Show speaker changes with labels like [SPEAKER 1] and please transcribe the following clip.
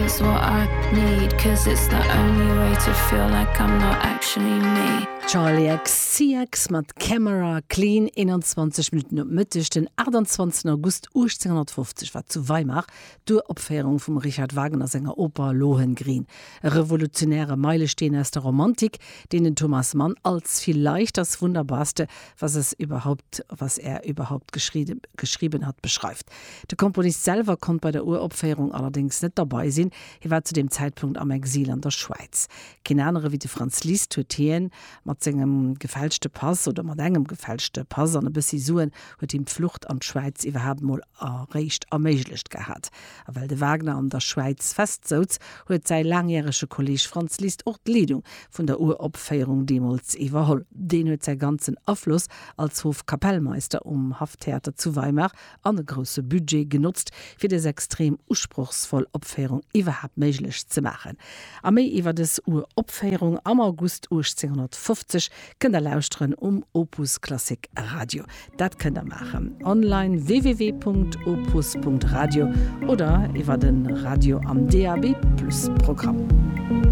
[SPEAKER 1] is what I need Cause it's the only way to feel like I'm not actually me. Charli XCX mat Camera Clean, 21 Minutten op Mëtteg den 28 August 1850 war zu Weimar d'Uropféierung vum Richard Wagner senger Oper Lohengrin, e revolutionäre Meilesteen aus der Romantik, deen den Thomas Mann als vielleicht das Wunderbarste, was es überhaupt, was er überhaupt geschrieben hat beschreift. De Komponist selwer konnt bei der Uropféierung allerdéngs net derbei sinn, hie war zu deem Zäitpunkt am Exil an der Schwäiz. Keen anere wéi de Franz Liszt huet hien mat sengem gefälschte Pass oder mat engem gefälschte Pass an e bëssi Suen huet him d'Flucht an d'Schwäiz iwwerhaapt mol eréischt erméiglecht gehat. A well de Wagner an der Schwäiz festsouz, huet säi laangjärege Kolleeg Franz Liszt och d'Leedung vun der Uropféierung deemools iwwerholl. Deen huet säi ganzen Afloss als Hofkapellmeister um Hafftheater zu Weimar an e grousse Budget genotzt, fir dës extrem usprochsvoll Opféierung iwwerhaapt méiglech ze maachen. A méi iwwer dës Uropféierung am August 1850 kënnt der lauschteren um Opus Klassik Radio. Dat kënnt der maachen online www.opus.radio oder iwwer de Radio am DAB+ Programm.